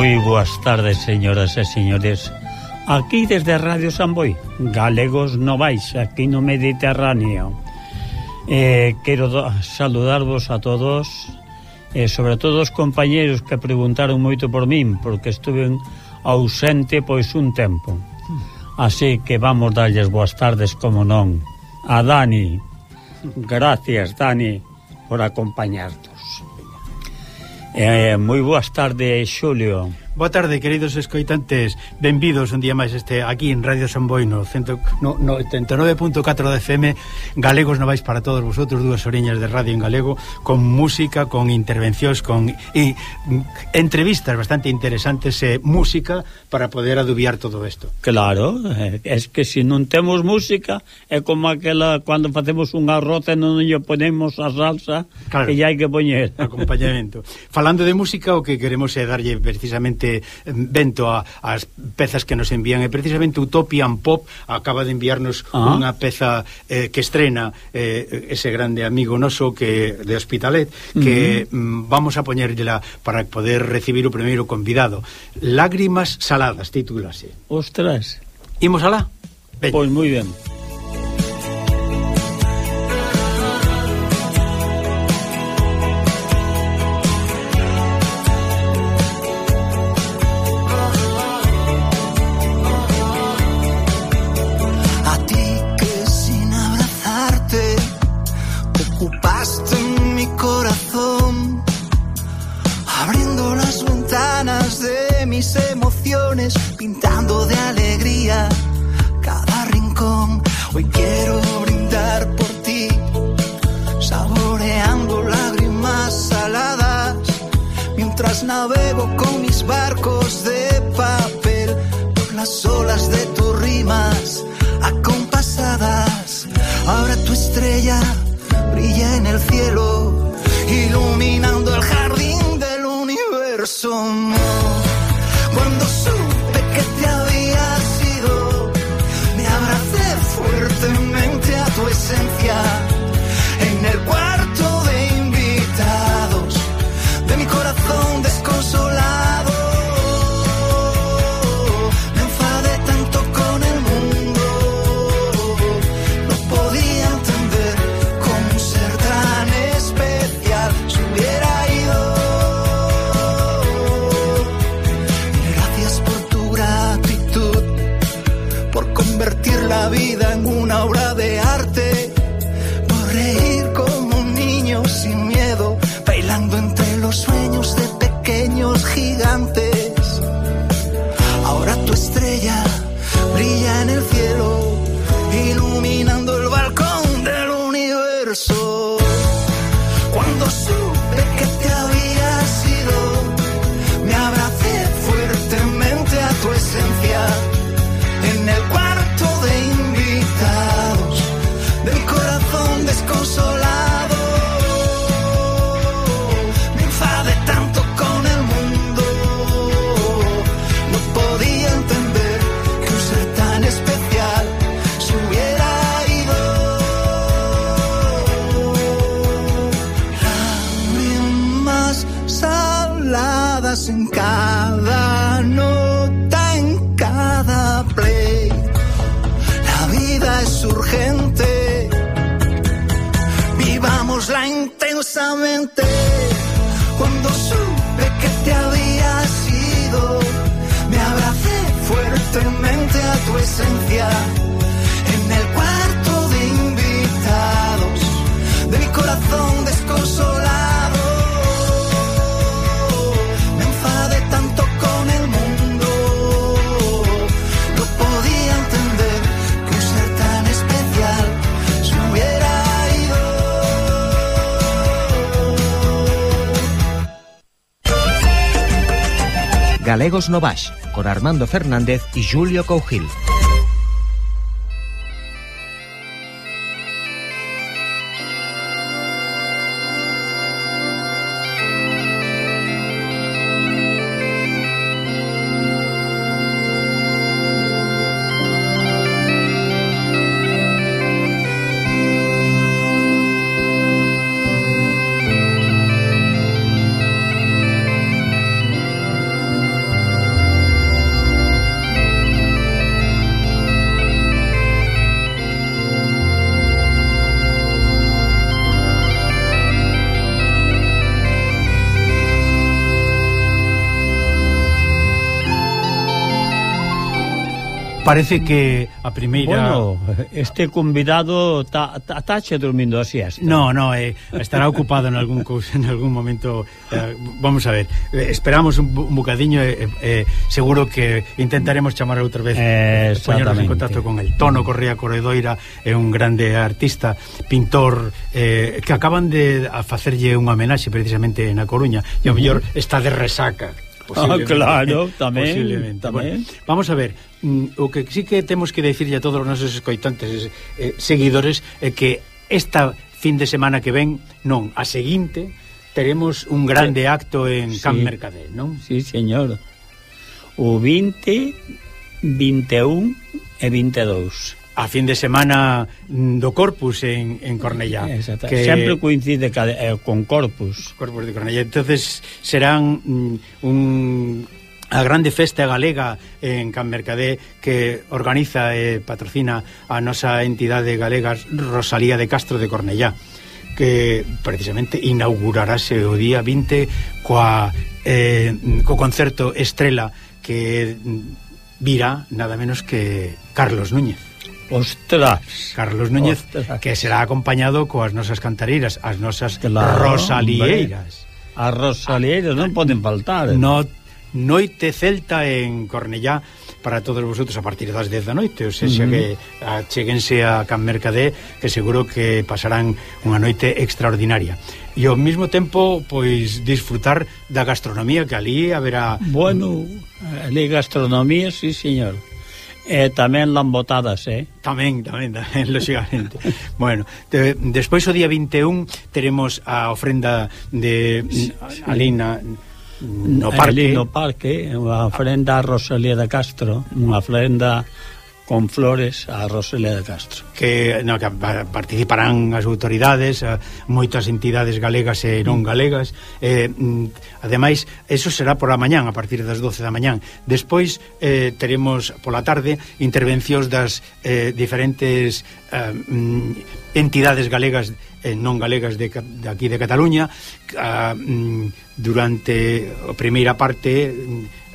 Moi boas tardes, señoras e señores. Aquí desde Radio Samboy, Galegos Novais, aquí no Mediterráneo. Quero saludarvos a todos, sobre todo os compañeros que preguntaron moito por min, porque estuve ausente pois un tempo. Así que vamos darlles boas tardes, como non. A Dani, gracias, Dani, por acompañarnos. Moi boas tardes, Xulio. Boa tarde, queridos escoitantes. Benvidos un día máis aquí en Radio Samboy no 89.4 de FM. Galegos Novais para todos vosotros, dúas oriñas de radio en galego, con música, con intervencións, con entrevistas bastante interesantes, música para poder adubiar todo isto. Claro, es que se non temos música é como aquela cando facemos un arroz e non lle ponemos a salsa, claro, que ya hai que poñer acompañamento. Falando de música, o que queremos é darlle precisamente vento ás pezas que nos envían, e precisamente Utopian Pop acaba de enviarnos unha peza que estrena ese grande amigo noso que de Hospitalet, que vamos a poñerla para poder recibir o primeiro convidado. Lágrimas saladas, titúlase. Ostras. Imos alá? Pois moi ben. Pintando de alegría cada rincón. Hoy quiero brindar por ti, saboreando lágrimas saladas, mientras navego con mis barcos de papel por las olas de tus rimas acompasadas. Ahora tu estrella brilla en el cielo, iluminando el jardín del universo. Cuando supe que te habías ido, me abracé fuertemente a tu esencia. En el cuarto de invitados de mi corazón desconsolado, me enfadé tanto con el mundo, no podía entender cómo un ser tan especial se hubiera ido. Convertir la vida en una obra de arte, por reír como un niño sin miedo, bailando entre los sueños de pequeños gigantes. Ahora tu estrella brilla en el cielo, iluminando el balcón del universo. Cuando supe que te habías ido, me abracé fuertemente a tu esencia. En el cuarto de invitados de mi corazón desconsolado, me enfadé tanto con el mundo, no podía entender que un ser tan especial se hubiera ido. Lágrimas saladas en cada nota, en cada play. La vida es urgente, vivámosla intensamente. Cuando supe que te habías ido, me abracé fuertemente a tu esencia. En el cuarto de invitados de mi corazón desconsolado, me enfadé tanto con el mundo, no podía entender que un ser tan especial se hubiera ido. Galegos Novais, con Armando Fernández y Julio Cougil. Parece que a primeira... Bueno, este convidado tache dormindo a siesta. No, estará ocupado en algún momento. Vamos a ver, esperamos un bocadiño, seguro que intentaremos chamar outra vez, poñernos en contacto con el Tono Correa Corredoira, é un grande artista, pintor, que acaban de facerlle unha homenaxe precisamente na Coruña, e ao mellor está de resaca. Claro, tamén. Bueno, vamos a ver, o que sí que temos que decirlle a todos os nosos escoitantes, seguidores, é que esta fin de semana que ven, non, a seguinte, teremos un grande acto en Can Mercader, non? Sí, señor. O 20, 21 e 22. A fin de semana do Corpus en Cornellá, que sempre coincide con Corpus de Cornellá. Entonces serán a grande festa galega en Can Mercader, que organiza e patrocina a nosa entidade galega Rosalía de Castro de Cornellá, que precisamente inaugurarase o día 20 co concerto Estrela, que virá nada menos que Carlos Núñez. Ostras, Carlos Núñez, que será acompañado coas nosas cantareiras, as nosas rosalieiras. As rosalieiras non poden faltar. Noite celta en Cornellá para todos vosotros a partir das 10 da noite, ou seja, que cheguense a Can Mercader, que seguro que pasarán unha noite extraordinaria. E ao mesmo tempo, pois, disfrutar da gastronomía, que ali haberá... Bueno, ali gastronomía, sí, señor. Tamén lambotadas, Tamén, lógicamente. Bueno, despois o día 21 teremos a ofrenda de Alina no parque. No parque, unha ofrenda a Rosalía de Castro, unha ofrenda con flores a Rosalía de Castro, que participarán as autoridades, moitas entidades galegas e non galegas, ademais eso será por a mañán, a partir das 12 da mañán. Despois teremos pola tarde intervencións das diferentes entidades galegas e non galegas de aquí de Cataluña, durante a primeira parte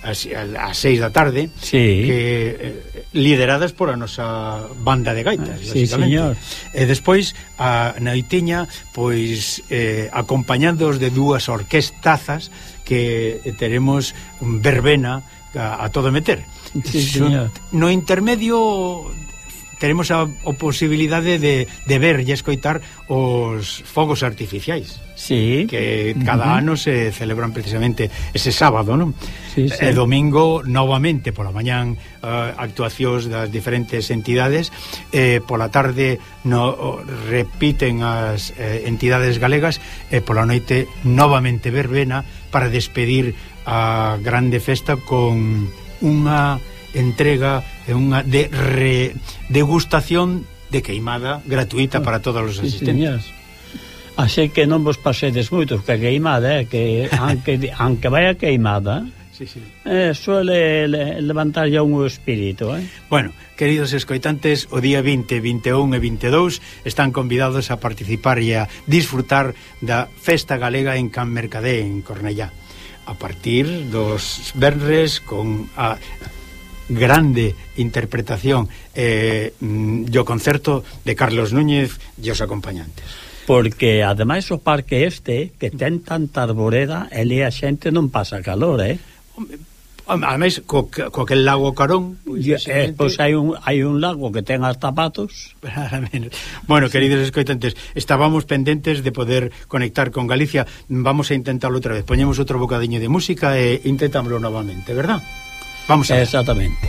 ás 6 da tarde, que lideradas por a nosa banda de gaitas, sí, señor. E despois a noitiña, pois acompañados de dúas orquestazas que teremos verbena a todo meter. Sí, señor. No intermedio teremos a posibilidade de ver e escoitar os fogos artificiais, que cada ano se celebran precisamente ese sábado, non? Sí. E domingo novamente pola mañán actuacións das diferentes entidades, pola tarde repiten as entidades galegas, e pola noite novamente verbena para despedir a grande festa con unha entrega e unha degustación de queimada gratuita para todos os asistentes. Así que non vos pasedes moito, que a queimada, que aunque vai a queimada, suele levantar ya un espírito. Bueno, queridos escoitantes, o día 20, 21 e 22 están convidados a participar e a disfrutar da festa galega en Can Mercader, en Cornellá, a partir dos venres, con a grande interpretación e o concerto de Carlos Núñez e os acompañantes. Porque ademais o parque que ten tanta arboreda, ali a xente non pasa calor, Ademais, co aquel lago Carón, pois hai un lago que ten hasta patos. Bueno, queridos escoitantes, estábamos pendentes de poder conectar con Galicia. Vamos a intentarlo outra vez. Poñemos outro bocadiño de música e intentámoslo novamente, verdad? Vamos a ver. Exactamente.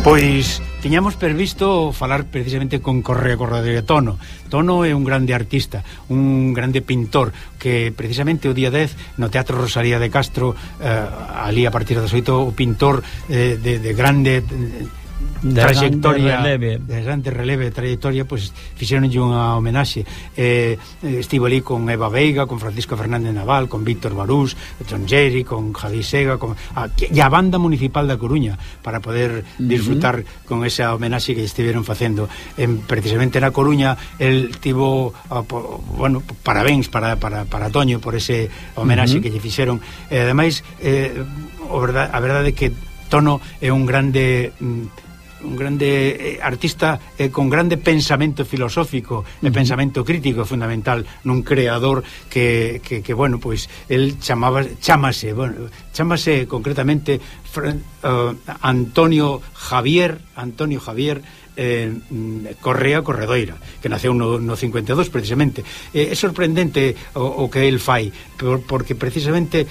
Pois tiñamos previsto falar precisamente con Correa Corredoira Tono. Tono é un grande artista, un grande pintor que precisamente o día 10 no Teatro Rosalía de Castro, ali a partir das 8, o pintor de grande trayectoria, de grande releve trayectoria, pois fixeronlle unha homenaxe. Estivo ali con Eva Veiga, con Francisco Fernández Naval, con Víctor Barús, John Jerry, con Javi Sega, e a banda municipal da Coruña, para poder disfrutar con esa homenaxe que estiveron facendo. Precisamente na Coruña el tivo, bueno, parabéns para Toño por ese homenaxe que lle fixeron. Ademais, a verdade é que Tono é un grande artista con grande pensamento filosófico e pensamento crítico fundamental, nun creador que bueno, pois el chamase concretamente Antonio Javier Correa Corredoira, que naceu no 52 precisamente. É sorprendente o que el fai, porque precisamente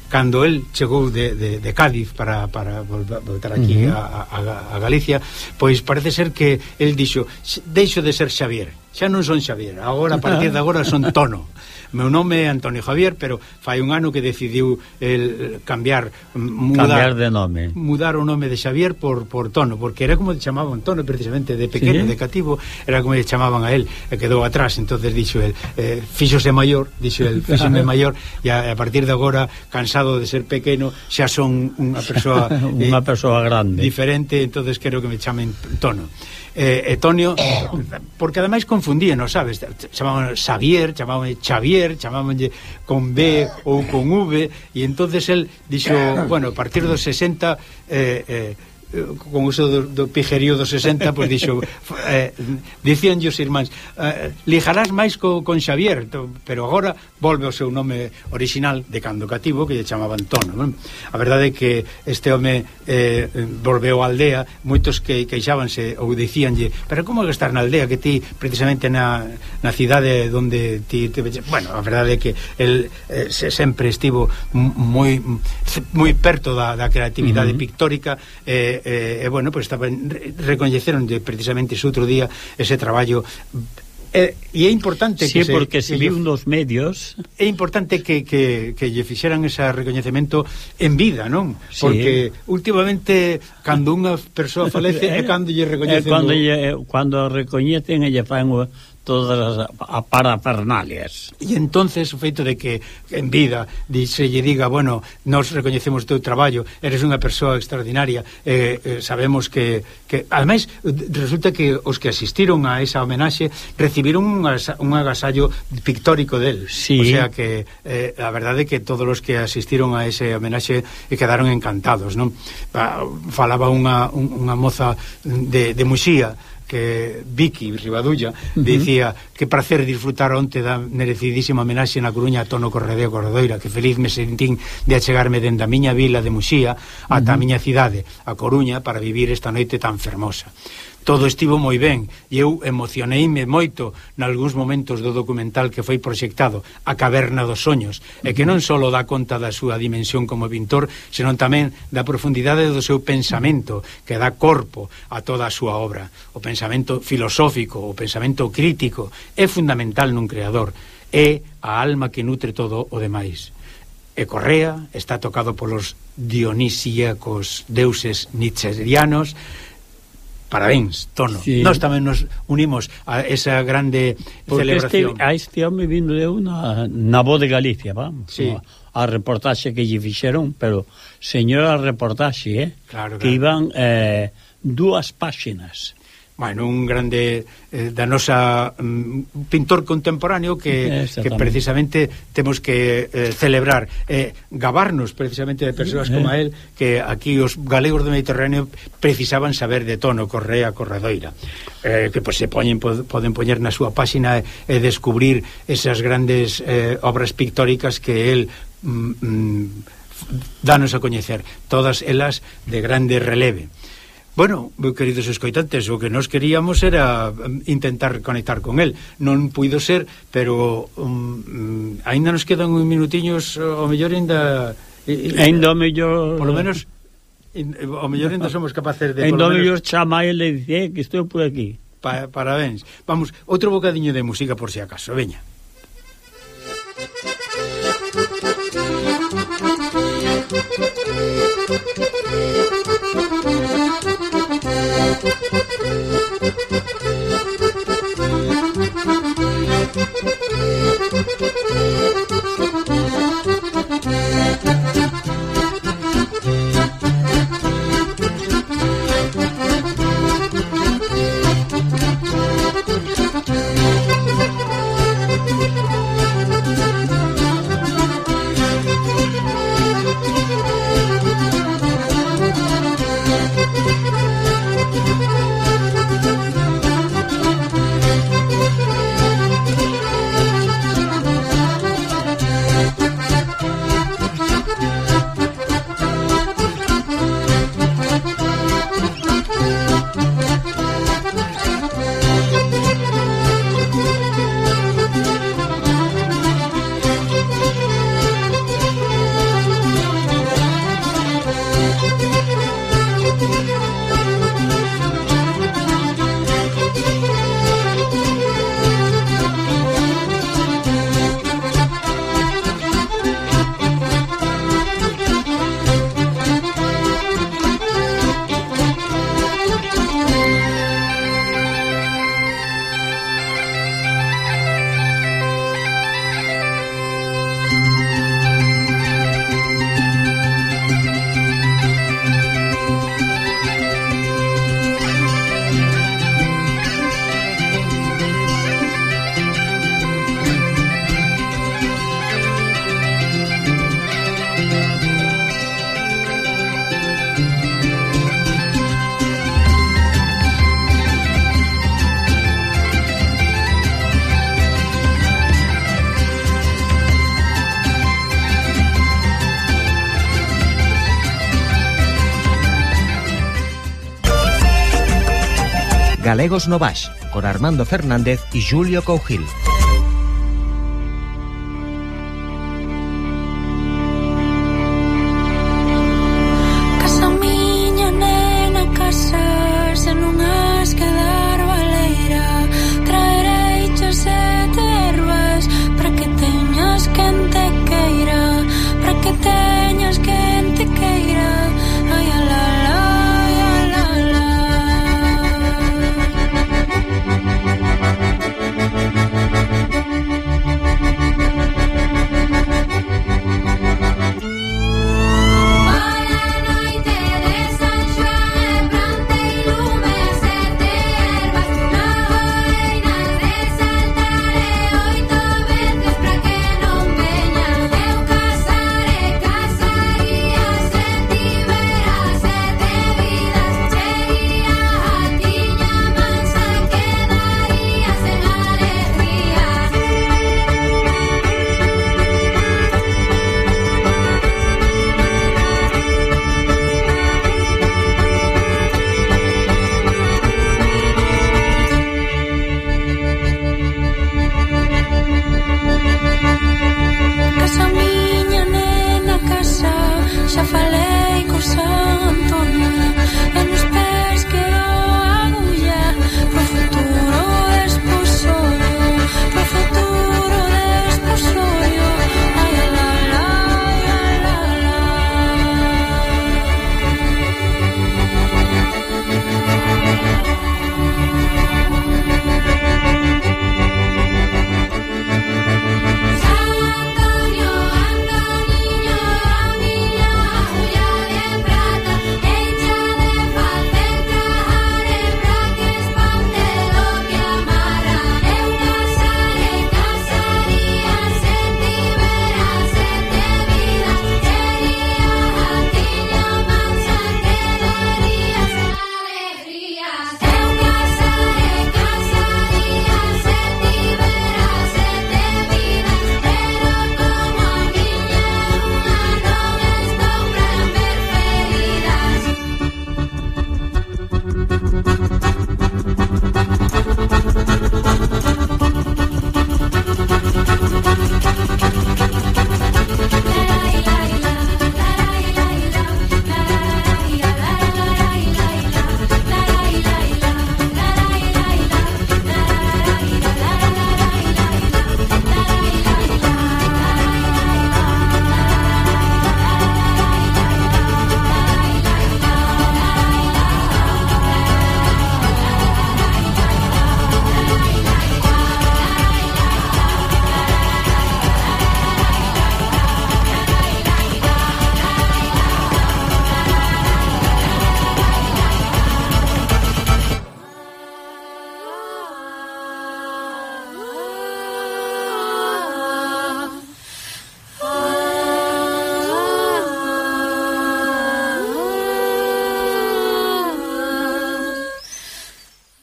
cando el chegou de Cádiz para voltar aquí a Galicia, pois parece ser que el dixo: deixo de ser Xavier, xa non son Xavier, agora, a partir de agora son Tono. Meu nome é Antonio Javier, pero fai un ano que decidiu el cambiar de nome, mudar o nome de Xavier por Tono, porque era como chamaban Tono precisamente de pequeno, de cativo, era como chamaban a él, e quedou atrás. Entonces dixo el, fíxose maior, fíxome maior, e a partir de agora, cansado de ser pequeno, xa son unha persoa unha persoa grande, diferente, entonces quero que me chamen Tono. Tonio, porque ademais confundíanos, sabes, chamaban Xavier, chamaban Xavier, chamábanlle con B ou con V, e entonces el dixo, bueno, a partir dos 60 con uso do pijerío dos 60, pois dixo, dicíanlle os irmáns, lijarás máis con Xavier, pero agora volve ao seu nome original de cando cativo, que lle chamaban Tono, non? A verdade é que este home volveu á aldea. Moitos que queixábanse ou dicíanlle, pero como que estar na aldea, que ti precisamente na cidade onde ti bueno, a verdade é que el sempre estivo moi perto da creatividade pictórica, e bueno, pues recoñeceron precisamente ese outro día ese traballo, e é importante que porque se viu nos medios, é importante que lle fixeran ese recoñecemento en vida, non? Porque últimamente cando unha persoa falece é cando lle recoñecen, cando recoñecen e lle fan todas as parafernalias. E entonces o feito de que en vida se lle diga, bueno, nos recoñecemos o teu traballo, eres unha persoa extraordinaria, sabemos que ademais resulta que os que asistiron a esa homenaxe recibiron un agasallo pictórico del, o sea que a verdade é que todos os que asistiron a ese homenaxe quedaron encantados, non? Falaba unha moza de Muxía, que Vicky Ribadulla, dicía que prazer disfrutar onte da merecidísima homenaxe na Coruña a Tono Correa Corredoira, que feliz me sentín de achegarme dende a miña vila de Muxía ata a miña cidade, a Coruña, para vivir esta noite tan fermosa. Todo estivo moi ben e eu emocioneime moito nalgúns momentos do documental que foi proxectado, A Caverna dos Soños, e que non só dá conta da súa dimensión como pintor, senón tamén da profundidade do seu pensamento, que dá corpo a toda a súa obra. O pensamento filosófico, o pensamento crítico é fundamental nun creador, é a alma que nutre todo o demais. E Correa está tocado polos dionisíacos deuses nietzscheanos. Parabéns, Tono. Nós tamén nos unimos a esa grande celebración. Este home vindo de na Voz de Galicia, vamos. Sí. A reportaxe que lle fixeron, pero señora reportaxe, claro. Que iban 2 páxinas. Bueno, un grande da nosa pintor contemporáneo que precisamente temos que celebrar, gabarnos precisamente de persoas como a él, que aquí os galegos do Mediterráneo precisaban saber de Tono Correa Corredoira, que pues, poden poñer na súa páxina e descubrir esas grandes obras pictóricas que él danos a coñecer, todas elas de grande releve. Bueno, queridos escoitantes, o que nos queríamos era intentar conectar con él. Non puido ser, pero aínda nos quedan uns minutiños, ao mellor aínda o mellor, por lo menos O mellor ainda somos capaces de... Entón eu chama e le dice que estou por aquí. Parabéns. Vamos, outro bocadiño de música por si acaso, veña. Galegos no Baix, con Armando Fernández y Julio Cougil.